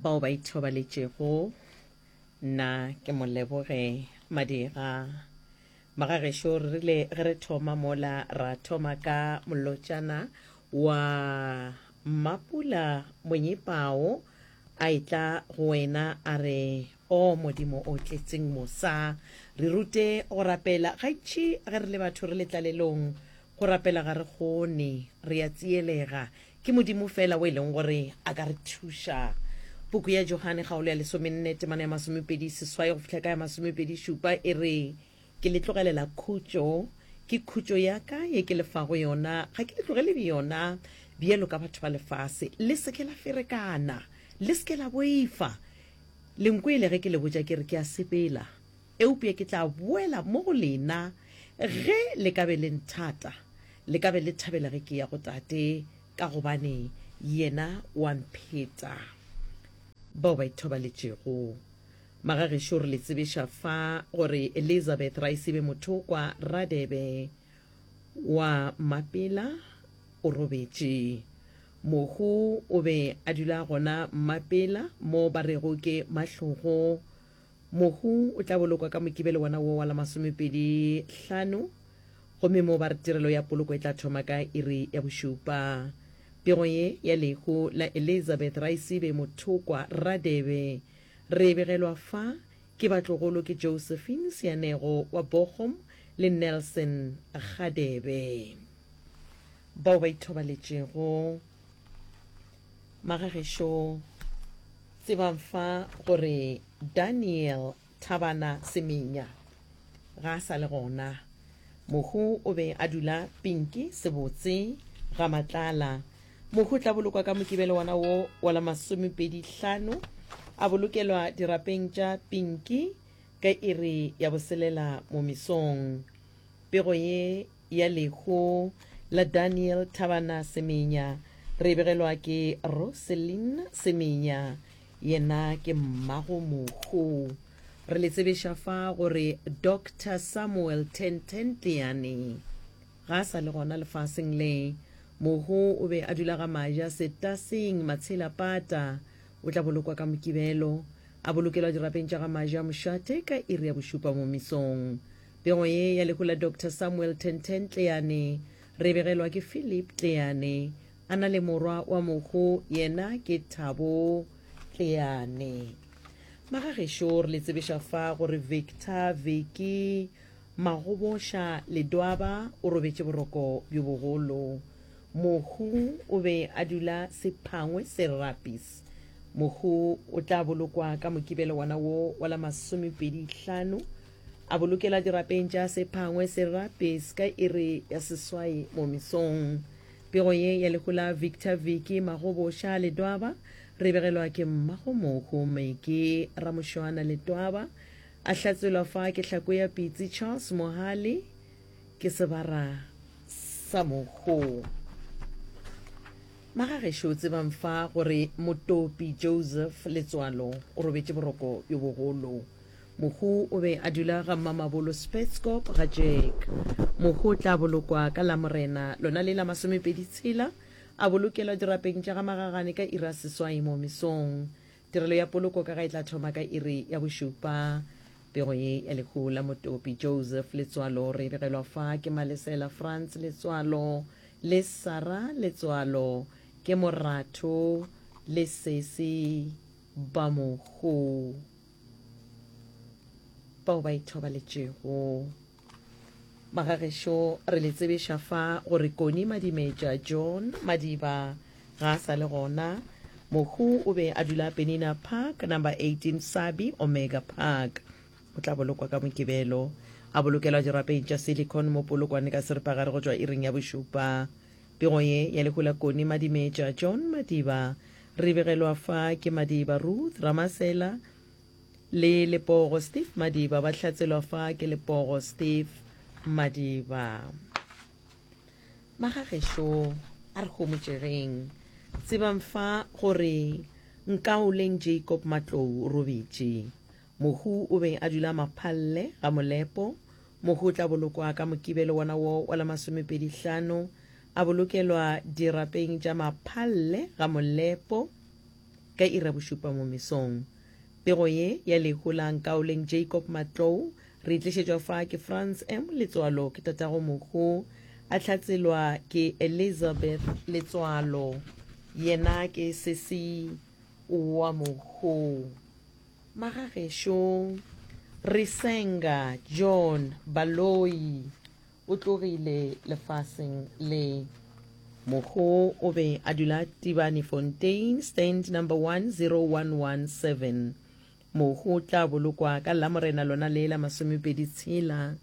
Bao ba ithobaletšego, nna ke Moleboge Madira. Magagešo, re rile ge re thoma mola ra thoma ka molotšana wa Mmapula Monyepao a etla go wena a re, O Modimo o tletseng mosa, re rute go rapela. Gantši ge re le batho re le tlalelong, go rapela ga re kgone, re a tsielega. Ke Modimo feela o e leng gore a ka re thuša. Puku ya Johane kgaolo ya lesomenne temana ya masomepedi seswai go fihla ka ya masomepedi šupa e re, Ke le tlogelela khutšo, ke khutšo ya ka ye ke le fago yona, ga ke le tlogele yona bjalo ka batho ba lefase. Le se ke la ferekana, le se ke la boifa. Le nkwele ge ke le botša ke re ke a sepela, eupša ke tla boela mo go lena. Ge le ka be le nthata, le ka be le thabela ge ke ya go Tate, ka gobane yena o a mpheta. Bao ba ithobaletšego. Magagešo re le tsebiša fa gore Elizabeth Raisibe Mothokwa Radebe wa Mmapela o robetše. Mohu o be a dula gona Mmapela mo ba rego ke Mahlogo. Mohu o tla bolokwa ka Mokibelo wona wo wa la masomepedi hlano gomme mo ba re tirelo ya poloko e tla thoma ka iri ya bošupa. Pego ye ya lehu la Elizabeth Raisibe Mothokwa Radebe re e begelwa fa ke batlogolo ke Josephine Seanego wa Bochum le Nelson Gadebe bao ba ithobaletšego. Magagešo, tsebang fa gore Daniel Thabana Semenya ga a sa le gona. Mohu o be a dula Pinki Sebotse ga Matlala. Mohu o tla bolokwa ka Mokibelo wona wo wa la masomepedi hlano, a bolokelwa dirapeng tša Pinki ka iri ya boselela mo mesong. Pego ye ya lehu la Daniel Thabana Semenya re e begelwa ke Roselyn Semenya, yena ke mmago mohu. Re le tsebiša fa gore Doctor Samuel Tenten Tleane ga a sa le gona lefaseng le. Mohu o be a dula ga Maja Setaseng Matshela Pata. O tla bolokwa ka Mokibelo, a bolokelwa dirapeng tša ga Maja Mošate ka iri ya bošupa mo mesong. Pego ye ya lehu la Doctor Samuel Tenten Tleane re e begelwa ke Philip Tleane a na le morwa wa mohu yena ke Thabo Tleane. Magagešo re le tsebiša fa gore Victor Vicky Magoboša Ledwaba o robetše boroko bjo bogolo. Mohu o be a dula Sephangwe Serapis. Mohu o tla bolokwa ka Mokibelo wona wo wa la masomepedi hlano A bolokela dirapeng tša Sephangwe Serapis ka iri ya seswai mo mesong. Pego ye ya lehu la Victor Vicky Magoboša Ledwaba re begelwa ke mmagomohu Meke Ramošwana Letwaba, a hlatselwa fa ke hlako ya pitsi Charles Mohale ke sebara sa mohu. Magagešo tsebang fa gore Motopi Joseph Letswalo o robetše boroko bjo bogolo. Mohu o be a dula ga Mmamabolo Spetskop ga Jack. Mohu o tla bolokwa ka Lamorena lona le la masomepedi tshela, a bolokelwa dirapeng tša ga Magagane ka iri ya seswai mo mesong. Tirelo ya poloko ka ga e tla thoma ka iri ya bošupa. Pego ye ya lehu la Motopi Joseph Letswalo re e begelwa fa ke Malesela Frans Letswalo le Sarah Letswalo ke moratho le sesi ba mohu. Bao ba ithobaletšego. Magagešo, re le tsebiša fa gore Koni Madimetša John Madiba ga a sa le gona. Mohu o be a dula Penina Park, number 18 Sabi Omega Park. O tla bolokwa ka Mokibelo. A bolokelwa dirapeng tša Silicon mo Polokwane ka seripagare go tšwa iring ya bošupa. Pego ye ya lehu la Koni Madimetša John Madiba re begelwa fa ke Madiba Ruth Ramasela le Lepogo Steve Madiba, ba hlatselwa fa ke Lepogo Steve Madiba. Magagešo a re homotšegeng, tsebang fa gore Nkaoleng Jacob Matlou o robetše. Mohu o be a dula Maphalle ga Molepo. Mohu o tla bolokwa ka Mokibelo wona wo wa la masomepedi hlano, a bolokelwa dirapeng tša Maphalle ga Molepo. ka iri ya bošupa mo mesong. Pego ye ya lehu la Nkaoleng Jacob Matlou re e tlišetšwa fa ke Frans M. Letswalo ke tatago mohu, a hlatselwa ke Elizabeth Letswalo, yena ke sesi wa mohu. Magagešo Risenga John Baloyi o tlogile lefaseng le. Mohu o be a dula Tibane Fontein, stand number 10117. Mohu o tla bolokwa ka Lamorena lona le la masomepedi tshela,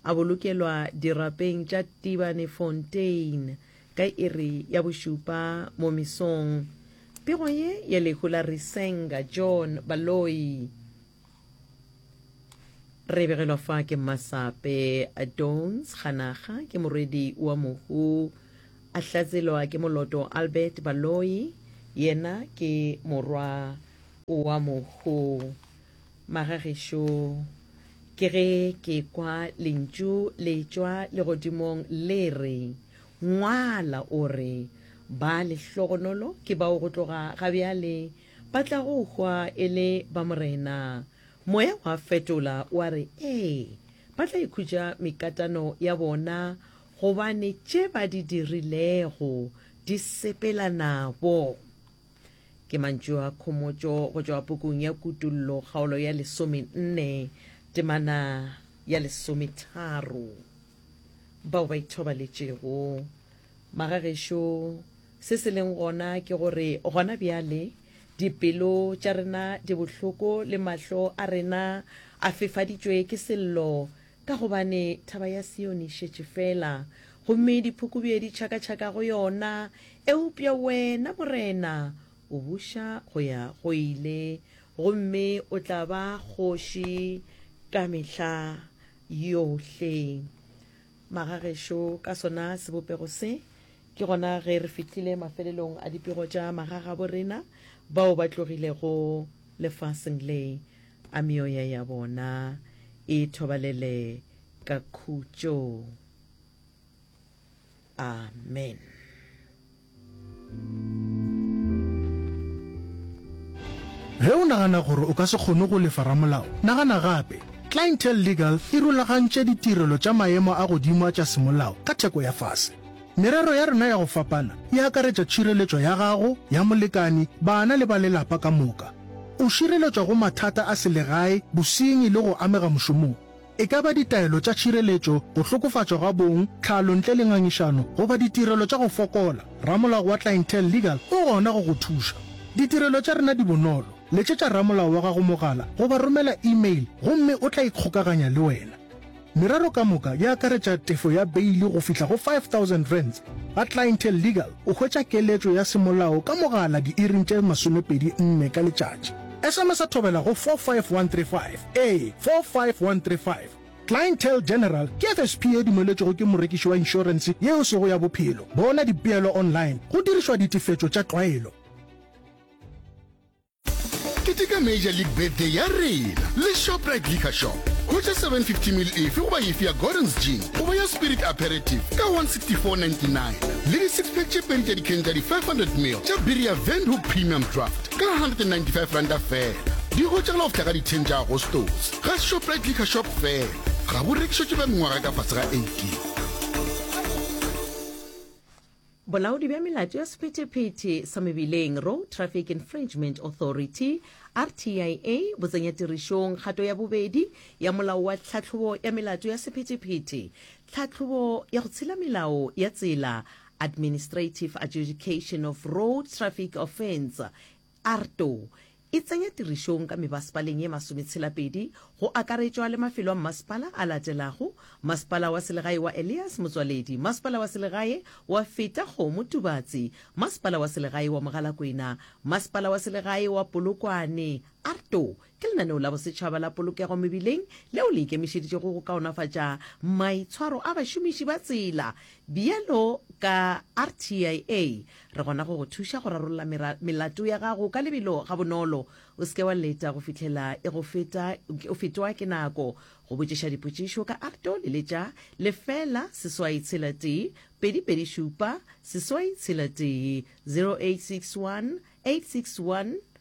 a bolokelwa dirapeng tša Tibane Fontein ka iri ya bošupa mo mesong. Pego ye ya lehu la Risenga John Baloyi re begelwa fa ke Mmasape Dons Kganaga, ke morwedi wa mohu, a hlatselwa ke Moloto Albert Baloyi, yena ke morwa wa mohu. Magagešo, ke ge ke kwa lentšu le tšwa legodimong le re, Ngwala o re, Ba lehlogonolo ke bao go tloga ga bjale ba tla go hwa e le ba Morena. Moya wa fetola wa re, Ee, ba tla ikhutša mekatano ya bona, gobane tše ba di dirilego di sepela nabo. Ke mantšu a khomotšo go tšwa pukung ya Kutollo kgaolo ya lesomenne temana ya lesometharo. Bao ba ithobaletšego. Magagešo, se se leng gona ke gore gona bjale dipelo tša rena di bohloko le mahlo a rena a fefaditšwe ke sello, ka gobane thaba ya Sione e šetše feela, gomme diphukubje di tšhakatšhaka go yona. Eupša wena, Morena, o buša go ya go ile, gomme o tla ba kgoši ka mehla yohle. Magagešo ka sona sebopego se, ke gona ge re fihlile mafelelong a dipego tša magagabo rena bao ba tlogilego lefaseng le, a meoya ya bona e thobalele ka khutšo. Amen. Ge o nagana gore o ka se kgone go lefa ramolao, nagana gape. Clientele Legal e rulagantše ditirelo tša maemo a godimo a tša semolao ka theko ya fase. Merero ya rena ya go fapana e akaretša tšhireletšo ya gago, ya molekani, bana le ba lelapa ka moka. O šireletšwa go mathata a selegae, bosenyi le go amega mošomong. E ka ba ditaelo tša tšhireletšo, go hlokofatšwa ga bong, tlhalo ntle le ngangišano, goba ditirelo tša go fokola, ramolao wa Clientele Legal o gona go go thuša. Ditirelo tša rena di bonolo, letšetša ramolao wa gago mogala goba romela e-mail gomme o tla ikgokaganya le wena. Merero ka moka e akaretša tefo ya beili go fihla go R5000. Ga Clientele Legal o hwetša keletšo ya semolao ka mogala diiring tše 24 ka letšatši. SMS-a thobela go 45135. Ee, 45135. Clientele General ke FSP ye dumeletšwego ke morekiši wa inšorense ye e sego ya bophelo. Bona dipeelo online go dirišwa ditefetšo tša tlwaelo. Keteka Major League Birthday ya rena le Shoprite Liquor Shop. Hwetša 750 ml efe goba efe ya Gordon's Gin goba ya Spirit Aperitif ka 164.99 le di-six pack tše pedi tša dikheng tša di-500 ml tša biri ya Windhoek Premium Draft ka R195 feela. Di hwetšagala go fihla ka di-10 tša Agostose ga Shoprite Liquor Shop feela. Ga bo rekišetšwe ba mengwaga ka fase ga 18. Bolaodi bja Melato ya Sephethephethe sa Mebileng, Road Traffic Infringement Authority, RTIA, bo tsenya tirišong kgato ya bobedi ya Molao wa Tlhahlobo ya Melato ya Sephethephethe, Tlhahlobo ya go Tshela Melao ya Tsela, Administrative Adjudication of Road Traffic Offence, AARTO, e tsenya tirišong ka mebasepaleng ye masometshela-pedi, go akaretšwa le mafelo a mmasepala a latelago, Masepala wa Selegae wa Elias Motswaledi, Masepala wa Selegae wa Feta Kgomo Tubatse, Masepala wa Selegae wa Mogalakwena, Masepala wa Selegae wa Polokwane. AARTO ke lenaneo la bosetšhaba la polokego mebileng leo le ikemišeditšego go kaonafatša maitshwaro a bašomiši ba tsela. Bjalo ka RTIA, re gona go go thuša go rarolla melato ya gago ka lebelo gabonolo. O se ke wa leta go fihlela e go feta, o fetwa ke nako. Go botšiša dipotšišo ka ARTO, leletša lefela seswai tshela tee 2 2 7 seswai tshela tee, 0861 861.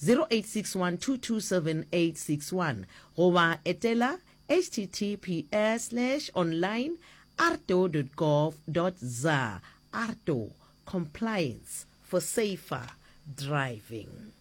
0861227861 goba etela https slash online arto dot gov dot za. Arto, compliance for safer driving.